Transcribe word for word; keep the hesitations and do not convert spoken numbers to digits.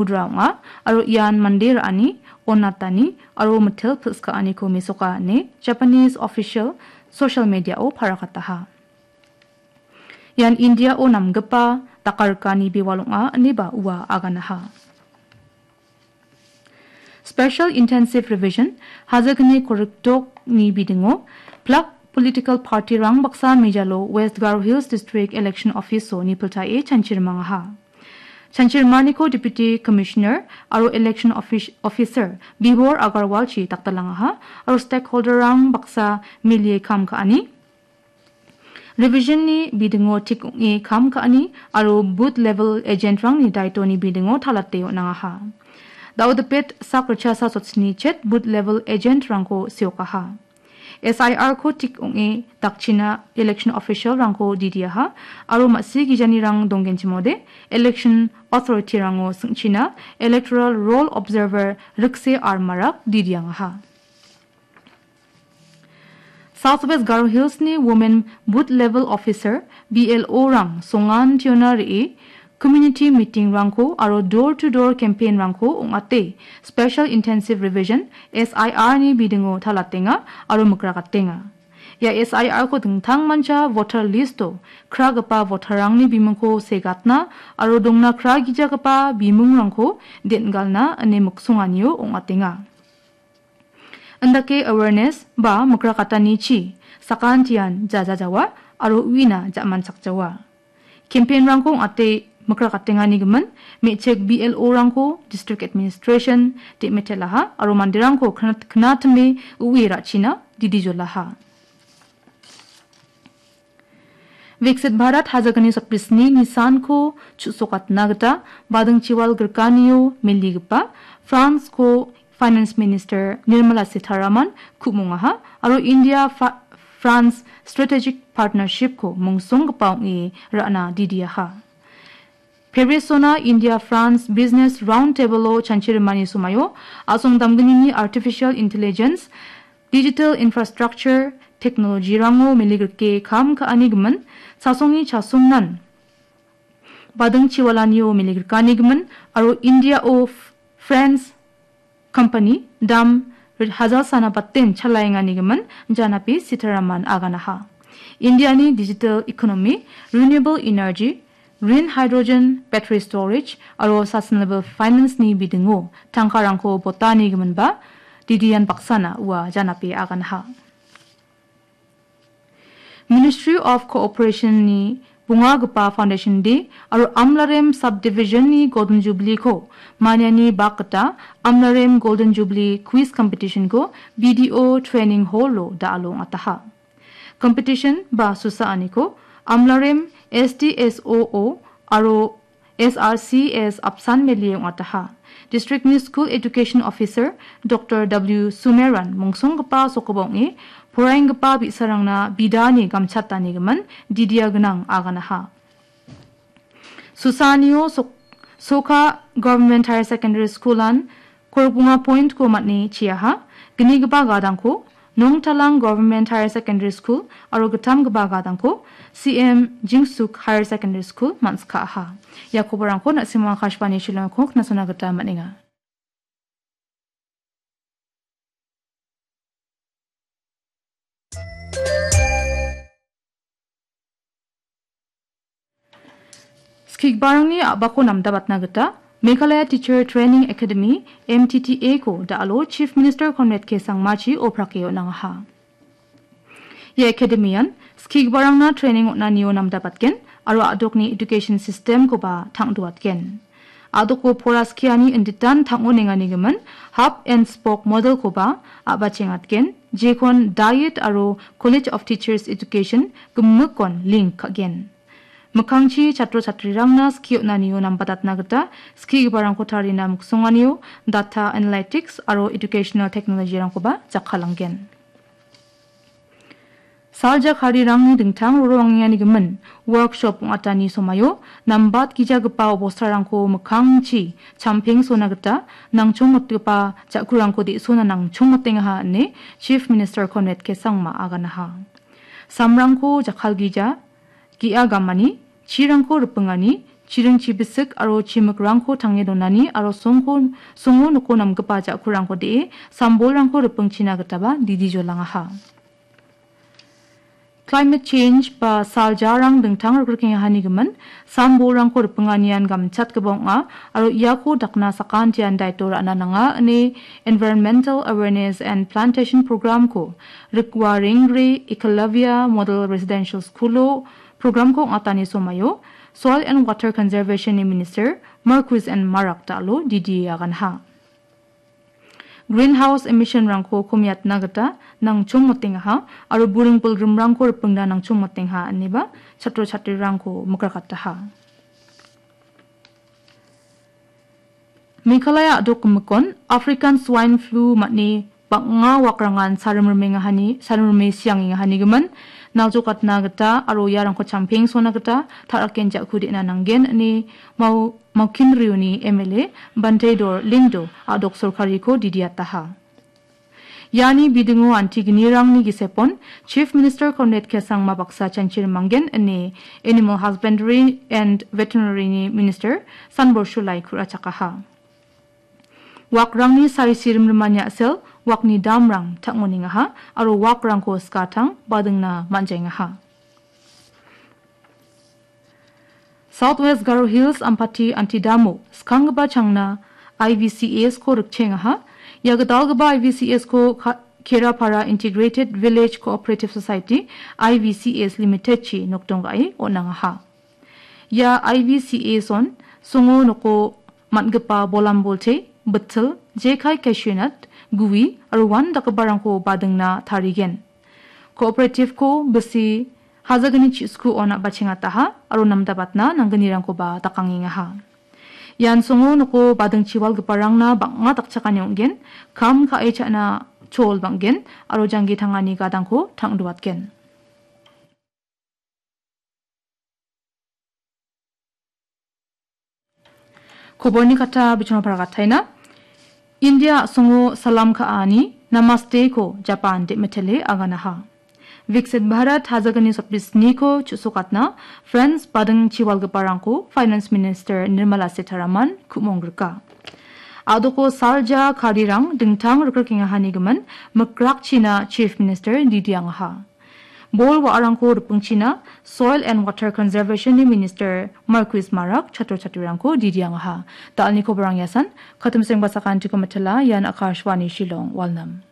udra ong·a, aro ian mande ra·ani, onatani aro mitel pilskaaniko mesoka ine Japanese official social media-o parakataha. Ian India-o namgipa dakarikani bewal ong·a ineba ua aganaha. Special Intensive Revision, hajagni korikdokni bidingo, plak political party-rang baksa mejalo West Garo Hills District Election Office-o nipiltae chanchirimangaha. Chanchirimaniko Deputy Commissioner aro Election Office-, Officer Bibor Agarwalchi dakdalangaha, aro stakeholder-rang baksa milie kam ka·ani, Revision-ni bidingo tik ong·e kam ka·ani aro booth level agent-rangni daitoni bidingo talate on·angaha. Dao dipet sak ritchasa sotsni chet booth level agent-rangko seokaha. S I R-ko tik ong·e dakchina election official-rangko didiaha aro ma·si gijanirang donggenchimode election authority-rango sing·china electoral roll observer rikse armarak didiangaha. South West Garo Hills-ni Women Booth Level Officer, B L O-rang songan tiona re·e, community meeting-rangko aro door-to-door campaign-rangko ong·ate, Special Intensive Revision, S I R-ni bidingo talatenga aro mikrakatenga. Ia S I R-ko dingtangmancha voter list-o kragipa voter-rangni bimungko segatna aro dongna kragijagipa bimungrangko den·galna ine miksonganio ong·atenga. Indake awareness ba mikrakatanichi sakantian jajajawa aro uina ja·manchakjawa. Campaign-rangko ong·ate mikrakatengani gimin, me·chik B L O-rangko, District Administration, de·metelaha aro manderangko knat-, knatime ue ra·china didijolaha. Viksit Bharat hajagni sotbrisni nisanko chu·sokatna gita badingchiwal grikanio meligipa France-ko Finance Minister Nirmala Sitharaman ku·mongaha aro India Fa-, France Strategic Partnership-ko mungsonggipa ong·e ra·na didiaha. Paris-ona India France Business Roundtable-o chanchirimani somaio a·song damgnini artificial intelligence, digital infrastructure, technology-rango meligrike kam ka·ani gimin, chasongni chasongnan badingchiwalanio meligrikani gimin, aro India-o F-, France company dam hajalsana baten chalaengani gimin janapi Sitharaman aganaha. India-ni digital economy, renewable energy, green hydrogen, battery storage aro sustainable finance-ni bidingo tangkarangko botani giminba didian baksana ua janapi aganaha. Ministry of Cooperation-ni bongagipa Foundation Day aro Amlarem Subdivision-ni Golden Jubilee-ko maniani bak gita Amlarem Golden Jubilee Quiz Competition-ko B D O Training Hall-o da·alo ong·ataha. Competition ba susaaniko Amlarem S D S O O aro S R C S apsan melie ong·ataha. District-ni School Education Officer Doctor W Sumeran mongsonggipa sokoba ong·e, poraienggipa bi·sarangna bidani gamchatani gimin didia gnang aganaha. Susanio Sok-, Soka Government Higher Secondary School-an korokbonga point-ko man·e chiaha. Gnigipa gadangko Nongtalang Government Higher Secondary School aro gittamgipa gadangko C M Jingsuk Higher Secondary School man·sikaha. Ia koborangko na·simang Akashvani Shillongko knasona gita man·enga. Skigiparangni a·bako namdabatna gita Meghalaya Teacher Training Academy, M T T A-ko da·alo Chief Minister Conrad K Sangmachi oprake on·angaha. Ia academy-an skigiparangna training on·anio namdabatgen aro a·dokni education system-koba tang·duatgen. A·doko pora skiani inditan tang·onengani gimin hub and spoke model-koba a·bachengatgen, jekon diet aro College of Teachers Education gimikkon link ka·gen. Mikkangchi chatro chatrirangna skie on·anio nambatatna gita skigiparangko tarina miksonganio data analytics aro educational technology-rangkoba jakkalanggen. Salja karirangni dingtang rorongengani gimin workshop ong·atani somaio nambatgijagipa obostarangko mikkangchi champengsona gita nangchongmotgipa ja·kurangko de·sona nangchongmotengaha ine Chief Minister Conrad K Sangma aganaha. Samrangko jakkalgija, ge·a gamani, chirangko ripingani, chiring chibisik aro chimikrangko tange donani aro songko, songo noko namgipa ja·kurangko de·e, sambolrangko ripingchina gitaba didi jolangaha. Climate change ba saljarang dingtang rikrikengahanigimin, sambolrangko ripinganian gamchatgipa ong·a, aro iako dakna sakantian daito ra·na nanga ine Environmental Awareness and Plantation Programko Rikwa Rengre Eklavya Model Residential Schoolo programko ong·atani somaio Soil and Water Conservation-ni Minister Marcuise N Marak dal·o didi aganha. Greenhouse emission-rangko komiatna gita nangchongmotengaha aro buring bolgrimrangko ripingna nangchongmotenga ineba chatro chatrirangko mikrakataha. Meghalaya a·dok gimikon African Swine Flu man·e bang·a wakrangan sarim rimengahani, sarim rime siangengahanigimin, naljokatna gita aro iarangko champeng sona gita ta·raken ja·ku de·na nanggen ine Mau-, Maukinriuni M L A Banteidor Lyngdoh a·dok sorkariko didiataha. Iani bidingo antigenirangni gisepon Chief Minister Conrad K Sangma baksa chanchirimanggen ine Animal Husbandry and Veterinary-ni Minister Sanbor Shullai ku·rachakaha. Wakrangni sari sirimrimani a·sel wakni damrang tang·onengaha aro wakrangko skatang badingna man·jaengaha. South West Garo Hills Ampati Antidamo skanggipa changna I V C S-ko rikchengaha. Ia gitalgipa I V C S-ko Ka-, Kerapara Integrated Village Cooperative Society, I V C S Limited-chi nokdong ga·e on·angaha. Ia I V C S-on songo noko man·gipa bolambolte, bitil, jekai, cashew nut, gui aro uan dakgiparangko badingna tarigen. Cooperative-ko bisi hajagni chiskuon a·bachengataha aro namdabatna nanggnirangkoba dakangengaha. Ian songo noko badingchi walgiparangna bang·a dakchakani ong·gen, kam ka·e cha·na chol bang·gen aro janggi tangani gadangko tang·duatgen. Koborni kata bichonapara gataina. India a·songo salam ka·ani Namaste-ko Japan de·mitele aganaha. Viksit Bharat hajagni sotbisniko chu·sokatna French bading chiwalgiparangko Finance Minister Nirmala Sitharaman ku·monggrika. A·doko salja karirang dingtang rikrikengahanigimin mikrakchina Chief Minister didiangaha. Bol wa·arangko ripingchina Soil and Water Conservation-ni Minister Marcuise Marak chatro chatrirangko didiangaha. Dalni koborang iasan, katimseng basakantiko mitela, ian Akashvani Shillong, Walnam.